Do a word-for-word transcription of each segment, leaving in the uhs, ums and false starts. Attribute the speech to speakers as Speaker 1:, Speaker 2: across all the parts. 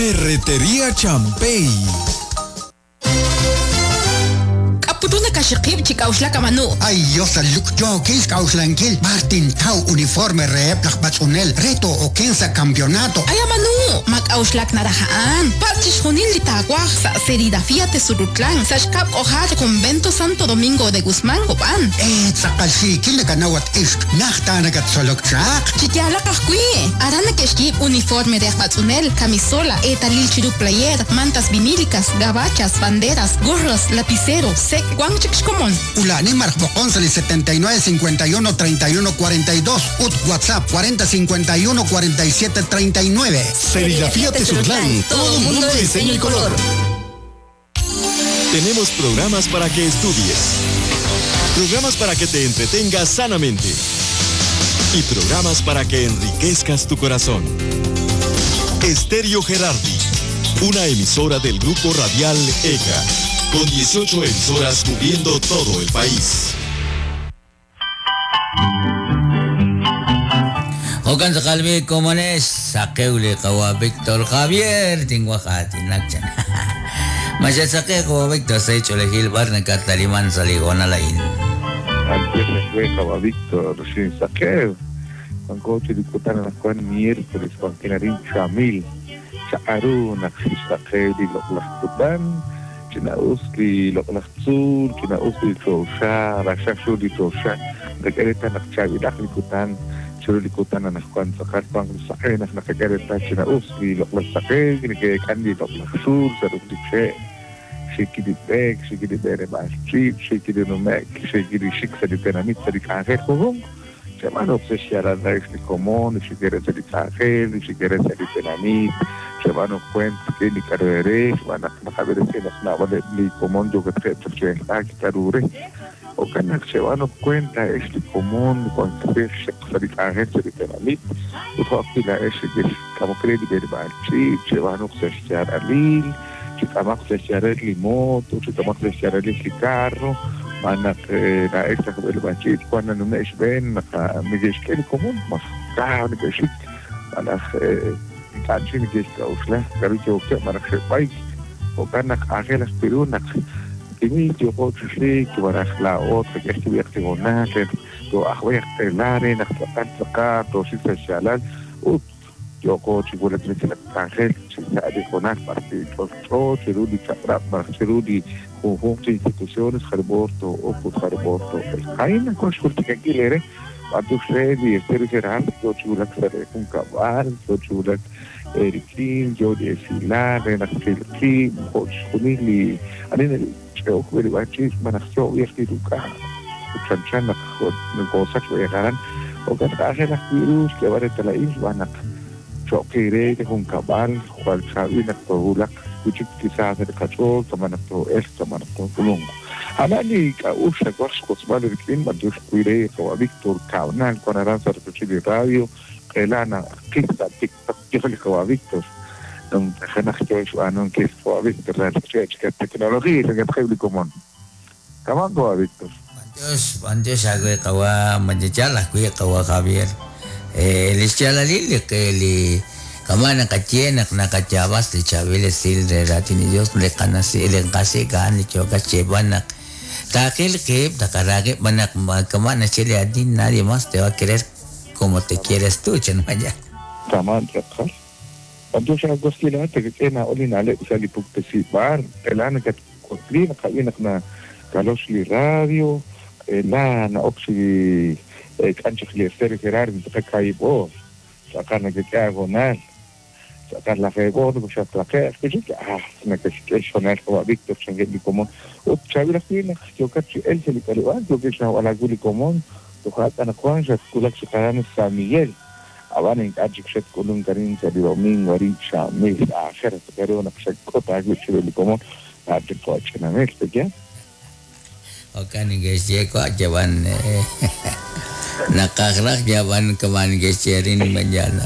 Speaker 1: Ferretería Champey.
Speaker 2: Putuna kashiqib chi k'auxlak amanu.
Speaker 3: Ay, Dios, yookil k'auxlankil Martin Tau uniforme reheb laj b'atz'unel reto okensa campeonato.
Speaker 2: Ay amanu, ma k'auxlak naraja'an. Patz chixjunil li taawaj sa' serigrafía Tezurutlán, sa' xkab' k'ojar Convento Santo Domingo de Guzmán Copán.
Speaker 3: Eh, tz'aqal xiikil nakanawat ixq najta nakatsolok chaq.
Speaker 2: Chiyalaq ajwi'. Aran nakexyib' uniforme de aj b'atz'unel, camisola, eetalil chiru player, mantas vinílicas, gabachas, banderas, gorros, lapicero, sec, Juan Chixcomón.
Speaker 3: Ulani Marcos setenta y nueve cincuenta y uno treinta y uno cuarenta y dos, U T WhatsApp cuarenta cincuenta y uno cuarenta y siete treinta y nueve.
Speaker 1: Serigrafía Tezutlán, todo un mundo de diseño y color. Tenemos programas para que estudies, programas para que te entretengas sanamente y programas para que enriquezcas tu corazón. Estéreo Gerardi, una emisora del Grupo Radial E C A, con dieciocho emisoras cubriendo todo el país.
Speaker 4: Okan sakalbi komones, sakeule kawa Víctor Javier, tinguajatinakchan. Masya kawa Víctor, se cholejil barna kataliman saligonalain.
Speaker 5: Antes kawa Víctor, sin saqueo. Juan Dikutan Juan miércoles, Juan Kinarin Chamil, Chaaruna, Saqueo, Loklakutan. Chinausli, Loklakzul, Chinausli, Chosha, Rashashuli, Chosha, Requereta, Nakchavilak, Likutan, Churulikutan, Anajuan, Sakar, Juan, Saque, Naknakareta, Chinausli, Loklakzake, Kandi, Loklakzul, Sarukliche, Shikidibek, Shikidibere, Bashchip, Shikidinumek, Shikidishik, Saritenamit, Sarikangel, Jugum. Semano se xaranda este común, si quieres el extranjero, si quieres el tenamit, se van a cuenta que ni carrere, van a saber si las navas de común yo que te carure, o canak se van a cuenta este común cuando se extranjero se tenamit, o la es que como crédito verbal, sí, se van a xaralil, si tamak se xaral moto, si tamak se xaral el carro. Manak na extra el bachit cuando no me ven me que el común más caro que sí manak canchi que está usla pero yo que manak se país o canak ángel perunak y yo puedo decir que manak la otra que estuve activo na que yo ahwe telare na tata to si se shalal ut yo coche con la ángel se de conar partido todo chirudi chapra chirudi conjunto de instituciones Jarborto o Jarborto el Jaina con Shurtikakilere Patusredi Estero Gerardo yo chulak sare con cabal yo chulak Erikin yo de Silar en Axilki Hochunili anin cheo bachis manachio viajiruka chanchana cosas voy a o que traje las virus que va a la isla choquere de con cabal cual sabina tolak kuchik quizás el cacho tomanato esto manato tulungo anani ka usha guascos vale clima de cuire o Víctor Cabnal con Aranza de radio Elana quizá TikTok yo le a Víctor don jana que yo anon que fue Víctor la tecnología que es común camando a Víctor
Speaker 4: Dios Dios agwe kawa manjala kuya kawa Javier eh lischalali que li kamana kachienak nakachabas li chavile sil de ratini Dios le kanasi le kasi kan li choka chebanak takil que takarage banak kamana chile adin nadie más te va a querer como te quieres tú chenmaya
Speaker 5: taman chakal cuando se agostila te que na olina le sali pukte bar elana kat kotlina kainak na kalos li radio elana oxi cancha li estéreo Gerardo takaibo sacar que te hago nal sacar la fego no se atraque que ah me que es sonar como Víctor Changuel como o chavila fina yo cachi él se le caliba yo que se a la guli común to jata na Juan se kulak se caran San Miguel aban en cachi se kulun karin se domingo ari chamil a hacer pero una se cota que común a te coche na mexte ya
Speaker 4: okan guys je ko jawan nakakrak jawan keman guys jerin manjana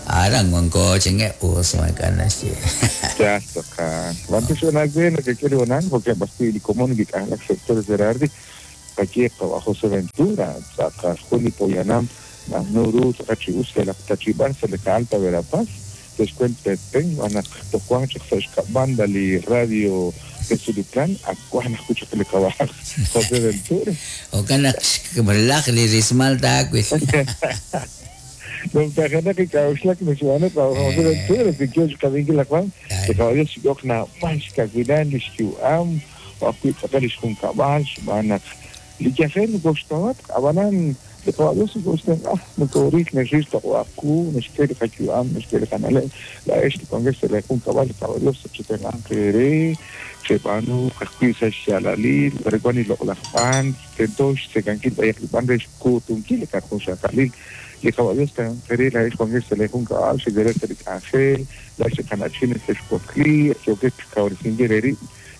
Speaker 4: arang mongko cenge us makan nasi
Speaker 5: ya toka wantu sona gue que quiero nan porque basti di común que anak sector Gerardi aquí José Ventura saka Juli Poyanam nuru saka chius la tachiban se le alta Verapaz Descuento Petén, anak tojuan chaq banda li radio Tezulitlán, akuan escucha que le caballo José Ventura.
Speaker 4: O kanak balak li rismal takwil.
Speaker 5: No tajana que kauxlak nixuana José Ventura, que kioch kabinki la Juan, que caballo xiyok na manch kawilan li xkiuam, o akuit tz'aqal li xjunkab'al, xb'aan naq li yajel goxtawat, abanan li caballo goxtan ah nokoril nexix toq'aqu nexkel qakyuam nexkel qanale la ex li congreso le junkab'al li caballo chitenq'an qere xeb'anu qajwi' sa' xyalalil recuan iloq'lajb'an tento xtzekankil b'ayaq li b'an re xkutunkil li qajunxaqalil li caballo qere la ex congreso le junkab'al xegerek sa' li k'anjel la ex qanachin xexwakli yokex kawrisinkil reri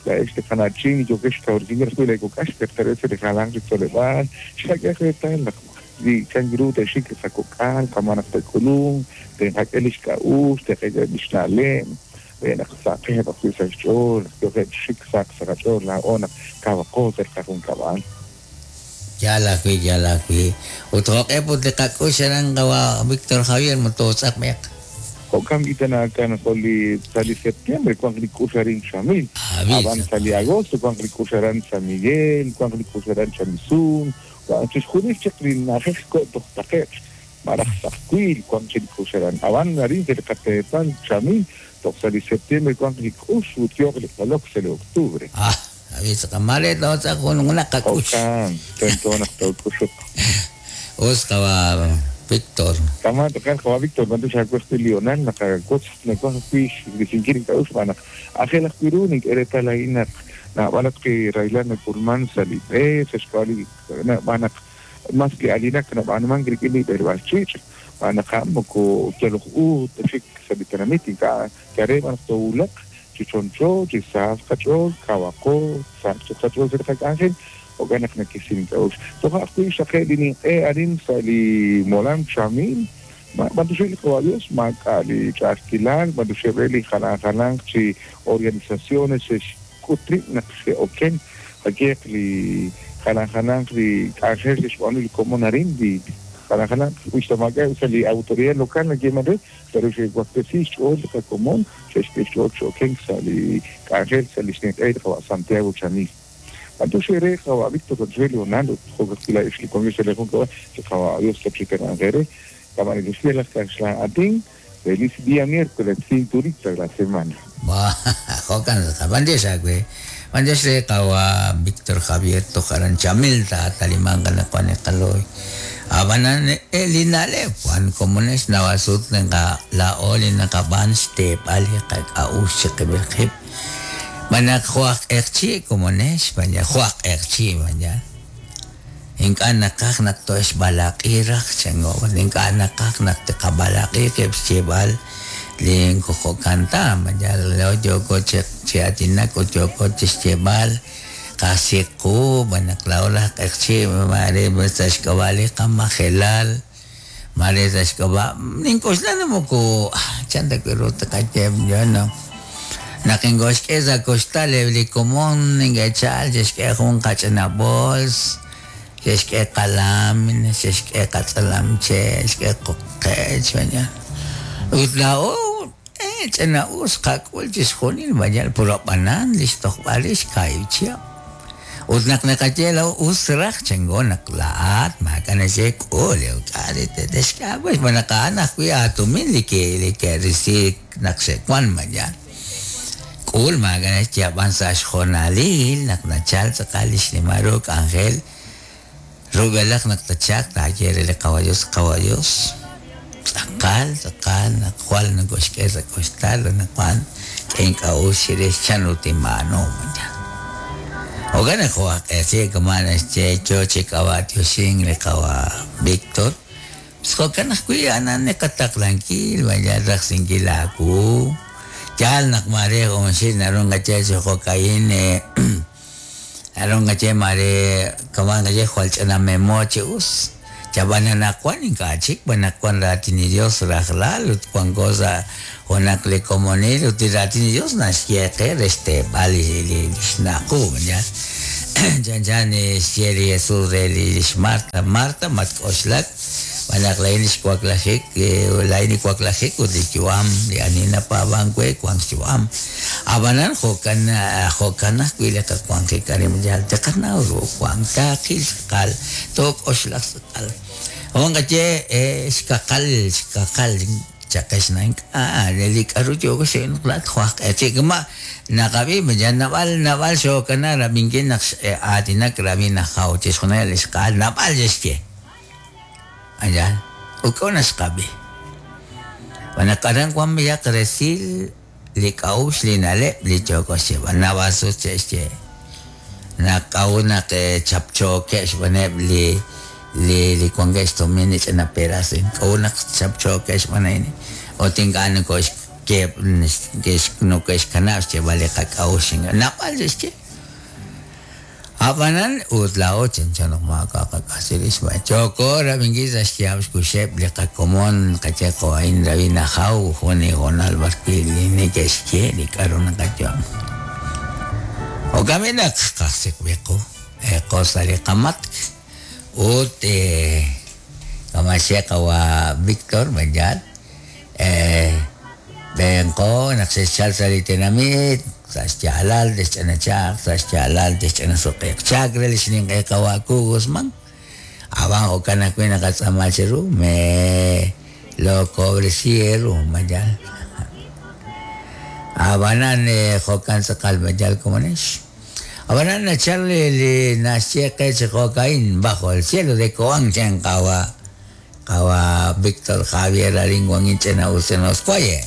Speaker 5: la ex qanachin yokex kawrisinkil rajwi' la ikok'ax pertenece li jalan ritoleb'al xak'ej retal naq li changiru te xik sakok'al kamanaq tekulun tenjak'el ixk'a'ux teq'el ixna'lem naq saqej ajwi' sa' xch'ool yoqeb' xik saq sa' qach'ool laa'o naq kawaqo sa' qajunkab'al.
Speaker 4: Yal ajwi' yal ajwi' ut joq'eb' ut li qak'ux aran qawa Víctor Javier mototz'aq b'eq.
Speaker 5: Jo'kan itanakan jo' li sa' li septiembre kuanq li k'ux arin Xamil, ab'an sa' li agosto kuanq li k'ux aran San Miguel, kuanq li k'ux aran Chamisun, chixjunil chaq li na'ajej ko' toj taqe'q maraj saqwiil kuanq chi li k'ux aran ab'an arin sa' li qateepal Xamil toj sa' li septiembre kuanq li k'ux ut yooq li q'olok sa' li octubre.
Speaker 4: Ah, abis qamale totz'aq jun una qak'ux.
Speaker 5: Jo'kan tento naq took'uxuq.
Speaker 4: Us qawa Víctor.
Speaker 5: Tama toqal qawa Víctor bantu xakuexti Lionel naqakotz nakuaj ajwi' xrisinkil ink'a'ux b'an naq ajel ajwi' ru nink'eretal a'in naq nab'alat qi raylan nakulman sa' li b'e sa' xk'ab'a' li b'an naq mas li alinak nab'anuman rik'in li b'eeleb'aal ch'iich' b'an naq a'an moko yaloj u taxik sa' li tenamit ink'a' yare b'an naq towulaq chi choncho chi saq qach'ool kawaqo saq qach'ool sa' li qak'anjel jo'kan naq nakisin ink'a'ux toja' ajwi' xaqe' li ninq'e arin sa' li molam Xamil b'antuxej li qawa Dios maak'a' li ch'a'ajkilal b'antuxej re li jalan jalanq chi organizaciones xe'xk'ut rib' naq xe'oken jakeq li jalan jalanq li k'anjel xe'xb'aanu li komon arin li jalan jalanq uxtamak'a' sa' li autoridad local nayeeman re pero xe'waktesi xch'ool li qakomon xe'xk'e xch'ool xe'oken sa' li k'anjel sa' li xninq'e li qawa Santiago Chamil. Entonces re qawa Víctor José Leonardo jo'kajwila ix li congreso le jun qawa qawa Dios tachitenq'an kama decía las atin feliz día miércoles cinturita de la semana.
Speaker 4: Ba jo'kan b'andex ajwi' b'andex re qawa Víctor Javier tojaran Chamil ta talimanqa nakuan qaloy abanan li na'leb' wan komonex nawasut nenqa la'o li naqab'an xteep'al li qak'a'ux chiqib'il qib' Manak joaq erchi komonex banya joaq erchi banya ink'a' naqaj naq toxb'alaq'i raj chango ink'a' naqaj naq tiqab'alaq'i qib' xcheb'al li nkojokanta banya lo yoko che atinak ut yoko chixcheb'al qasiqu banak la'o laj q'eqchi mare sa' xk'ab'a' li qamajelal mare sa' xk'ab'a' nink'oxla moko chan ta wi' ru taqayeb yo no naq ingoxk'e sa' koxtal li komon nink'echal xe'xk'e jun qach'ina bols xe'xk'e qalam xe'xk'e qatz'alam che' xk'e qoqech banya ut la'o eh ch'ina us qak'ul chixjunil banya puro b'anan li xtojb'al rix kaahib' chihab' ut naq naqaye la'o us raj chango naq la'at maak'a' naxek'ul k'a' texk'e pues b'an naq a'an ajwi' aatumin li ke li ke'risi naq xe'wan banya k'ul maak'a' naxyab'an sa' xjonalil naq nachal tz'aqal li xnimal ru k'anjel rub'elaq naq tachaq taaye re li qawa Dios qawa Dios tz'aqal tz'aqal naq jwal nakoxk'e sa' koxtal naq wan k'e ink'a'ux chirix chan ru tinb'aanu banya jo'kan naq jo'aq q'eqchi kama' naxye yo chi k'ab'atioxin li qawa Víctor jo'kan ajwi' a'an niqataqlankil banya rajsinkil aawu yal naq mare junxil naru nqaye chi jo'ka'in naru nqaye mare kama' nqaye jwal ch'ina memo chi us yab'an anaqwan ink'a' chik b'an naq wan raatin li Dios rajlal ut wanko sa' junaq li komonil ut li raatin li Dios naxye qe re xteeb'al li li xna'qu ya chanchan xye li Jesús re li xMarta Marta matk'oxlak Manaq lain xwaklajik lain waklajik ut li yu'am li ani napaab'an we wank xyu'am ab'anan jo'kan jo'kan ajwi' li qawanjik arin yal taqanaw ru wank taqil tz'aqal took'oxlaq tz'aqal jo'kan qaye xkaqal xkaqal chaqex na ink'a' li k'aru yooko xe'nqlaat juaj q'echi' naqab'i ya nab'al nab'al xookana rab'inkil naq aatinak rab'i najaw chixjunil li xq'aal nab'al xye Ayan, uko na xqab'i. Wanaqaran wan miyaq resil li k'a'uxl li na'leb' li yooko xyeeb'al nab'asus che'xye naq k'a'ut naq chapchookeb' xb'aneb' li li li wankeb' xtumin li ch'ina peras k'a'ut naq chapchookeb' xb'an a'in ut ink'a' nokoxkeb' nokoxkanab' xyeeb'al li qak'a'uxl nab'al xye Abanan ut laa'o chanchan naq maak'a' qak'asirix b'an chooko rab'inkil sa' xyaab' xkuxeb' li qakomon qaye qo'ain rab'i najaw jun li hoonal b'arwi' li neke'xye li k'aru naqayu'am jo'kan naq qajsik'b'i qu qo sa' li qamatk ut kama xye qawa Víctor Banyal benqo naq xe'xchal sa' li tinamit sa' xyaalal texch'anachaq sa' xyaalal texch'anasuq'iq chak re li xninq'e qawa Ku Guzmán ab'an jo'kan ajwi' naqatz'aama chiru me lo cobreciero mayal ab'anan jo'kan tz'aqal mayal komonex ab'anan nachal li naxye qe chi jo'ka'in bajo el cielo de Cobán chan qawa qawa Víctor Javier arin wan inch'ina usenos cuaye.